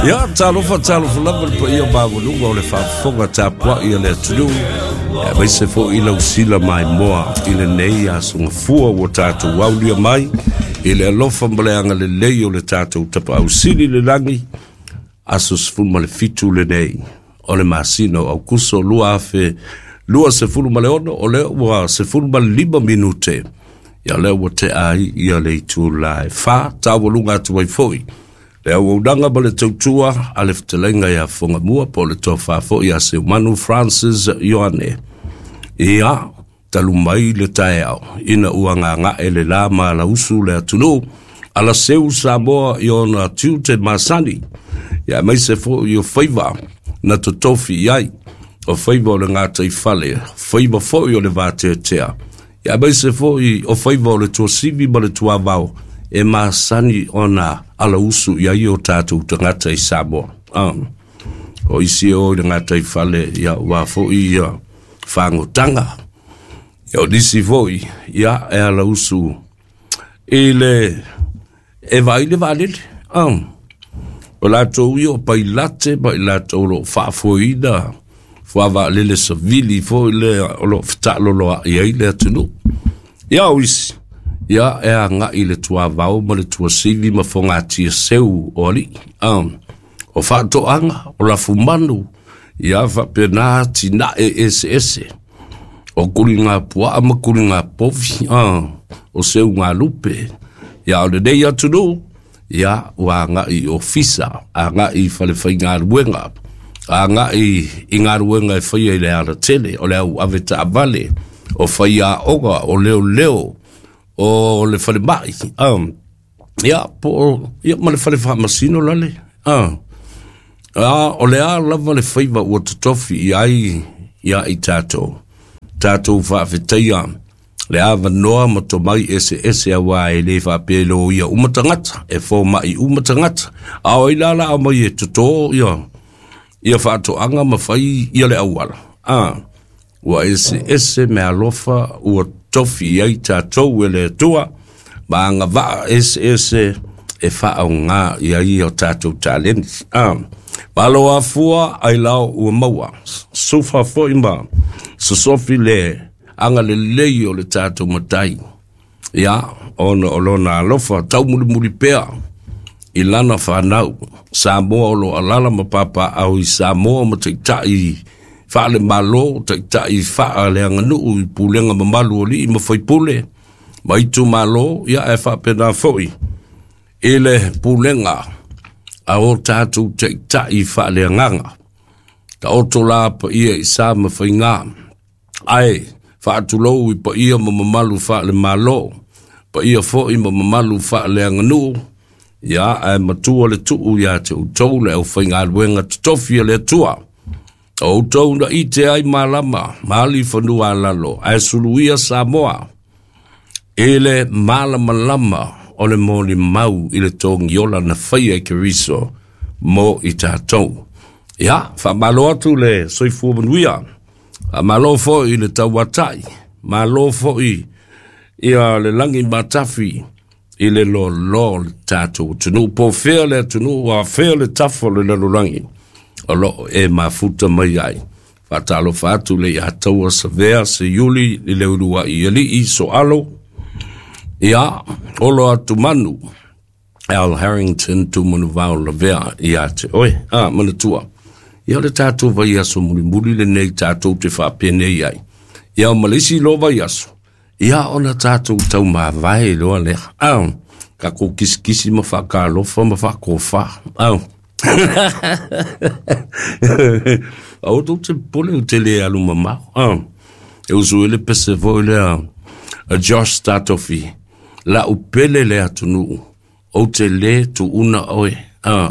Ia, talofa, talofa lava le paia maualuga o le faafofoga tapuai a le atunuu, aemaise foi lau sila maimoa i lenei aso gafua ua tatou aulia mai i le alofa ma le agalelei o le tatou Tapaau Sili i le lagi, aso 17 lenei o le masina o Aukuso 2026, o lea ua 15 minute, ia lea ua tea ai ia le itula e 4, taualuga atu ai foi le auaunaga ma le tautua a le fetalaiga ia Fogamua po o le tofa foi ia Seumanu Francis Ioane. Ia, talu mai le taeao ina ua gaga'e le la ma alausu le atunuu, alaseu Samoa i ona tiute masani, ia aemaise foi o faiva na totofi i ai, o faiva o le gataifale, faiva foi o le vateatea, ia aemaise foi o faiva o le tuasivi ma le tuavao e masani ona alausu i ai o tatou tagata i Samoa. O isi e o i le gataifale, ia ua foi ia fagotaga, ia o nisi foi, ia e alausu i le e vaai le vaalele. O latou ia o pailate ma i latou o lo o faafoeina fuavaalele savili foi lea o lo o fetaaloloai ai le atunuu. Ia o isi, ia e agai i le tuavao ma le tuasivi ma fogatia seu o alii. O faatoaga, o lafumanu, ia faapena atinae eseese. O kuliga puaa ma kuliga povi, o seuga lupe. Ia o lenei atunuu, ia ua agai i ofisa, agai i falefaigaluega, agai i galuega e faia i le alatele, o le au ave taavale, o faiaoga, o leoleo, o le falemai, ia po o, ia ma le fale faamasino lale, o le a lava le faiva ua totofi i ai ia i tatou, tatou faafetaia le avanoa ma tomai eseese aua e le faapea e loia uma tagata, e fomai uma tagata, a o ai la la mai e totō ia ia faatoaga ma fai ia le auala. Ua eseese meaalofa ua tofi i ai tatou e le Atua, ma agavaa eseese e faaaoga i ai o tatou taleni. Malo afua ai lao ua maua, sufa foi ma sosofi le agalelei o le tatou matai. Ia, ona o lona alofa taumulimuli pea i lana whanau, Samoa o lo alala ma papa au i Samoa ma taitai faalemalo, taitai faaleaganuu i pulega mamalu o alii ma faipule, ma itumalo, ia e faapena foi i le pulega a o tatou taitai faaleagaga. Taoto la paia i sa ma faiga, ae faatulou i paia ma mamalu faalemalo, paia foi ma mamalu faaleaganuu, ia ae matua le tuu ia te outou le aufaigaluega totofi a le Atua. O outou na ite ai malama, ma alifanua alalo, ae suluia Samoa i le malamalama o le molimau i le togiola na faia e Keriso mo i tatou. Ia, faamalo atu le soifua manuia, faamalo foi i le tauatai, malo foi ia le lagi matafi i le lōlō o le tatou atunuu, po o fea le atunuu, a fea le tafa o le lalolagi o loo e mafuta mai ai. Faatalofa atu le ia taua Savea, Seiuli, i le uluai alii, Soalo, ia, olo atu manu, Al Harrington, Tumanuvao Lavea, ia te oe, manatua. Ia o le tatou vaiaso mulimuli lenei tatou te faapenei ai. Ia o ma le isi loa vaiaso, ia ona tatou taumavae loa lea. Tatou kisikisi ma faakalofa ma faakofa. Aua tou te popole ou te le alu mamao. E usu ai le pese foi lea a Josh Tatofi, lau pele le atunuu, ou te le tuuna oe.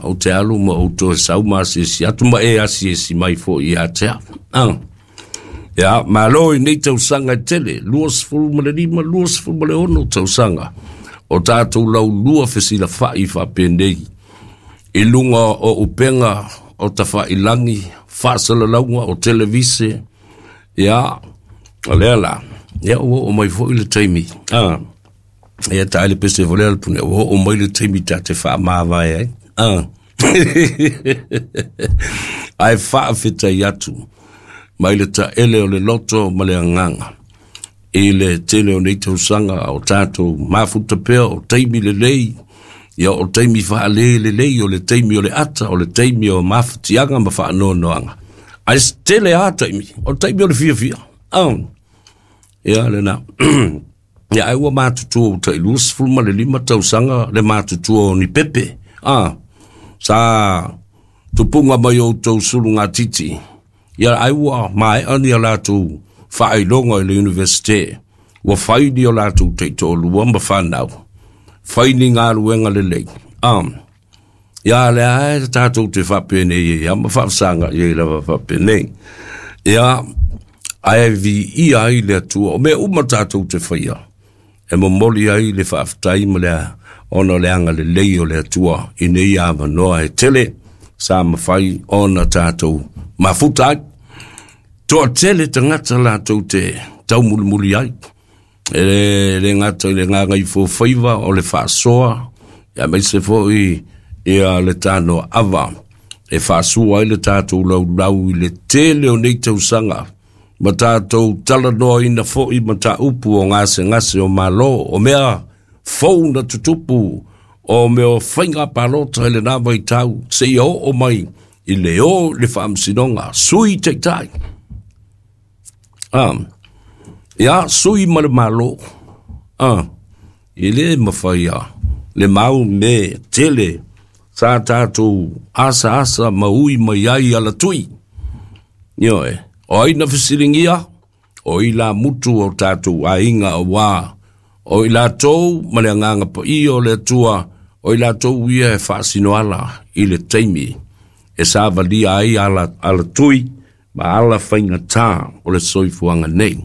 Ou te alu ma ou toe sau ma asiasi atu ma e asiasi mai foi ia te au. Ia, malo i nei tausaga e tele, 25, 26 tausaga, o tatou laulua fesilafai faapenei, i luga o upega o tafailagi, faasalalauga o televise, ia, o lea la, ia ua oo mai foi le taimi, ia tae le pese foi lea le pune, ua oo mai le taimi ta te faamavae ai. Ae faafetai atu mai le taele o le loto ma le agaga i le tele o nei tausaga o tatou mafuta pea o taimi lelei, ia o taimi faale lelei, o le taimi o le ata, o le taimi o mafatiaga ma faanoanoaga. Ae tele lava taimi, o le taimi o le fiafia. Ia lena. Ia ai ua matutua ua tai 25 tausaga le matutua o ni pepe. Sa tupuga mai outou sulugatiti. Ia ai ua maea ni a latou faailoga i le Universite. Ua fai ni o latou taitoalua ma fanau. Fai ni galuega lelei. Ia lea e tatou te faapenei ai ma faafasaga i ai lava faapenei. Ia, ae viia ai le Atua. O mea uma tatou te faia, e momoli ai le faafetai ma le ona o le agalelei o le Atua i nei avanoa e tele sa mafai ona tatou mafuta ai. Toatele tagata latou te taumulimuli ai. E le gata i le gagaifofaiva o le faasoa, aemaise foi ia le tanoaava e faasua ai le tatou laulau i le tele o nei tausaga ma tatou talanoaina foi mataupu o gasegase o Malo, o mea fou na tutupu, o mea o faiga palota i lena vaitau, seia oo mai i le o i le faamasinoga, sui taitai. Ia, sui ma le Malo. E le mafai a le mau me tele sa tatou asaasa ma ui mai ai alatui. Ioe, o ai na fesiligia, o i la mutu o tatou aiga auā, o i latou ma le agaga paia o le Atua, o i latou ia e faasinoala i le taimi e savalia ai alatui ma ala faigata o le soifuaga nei.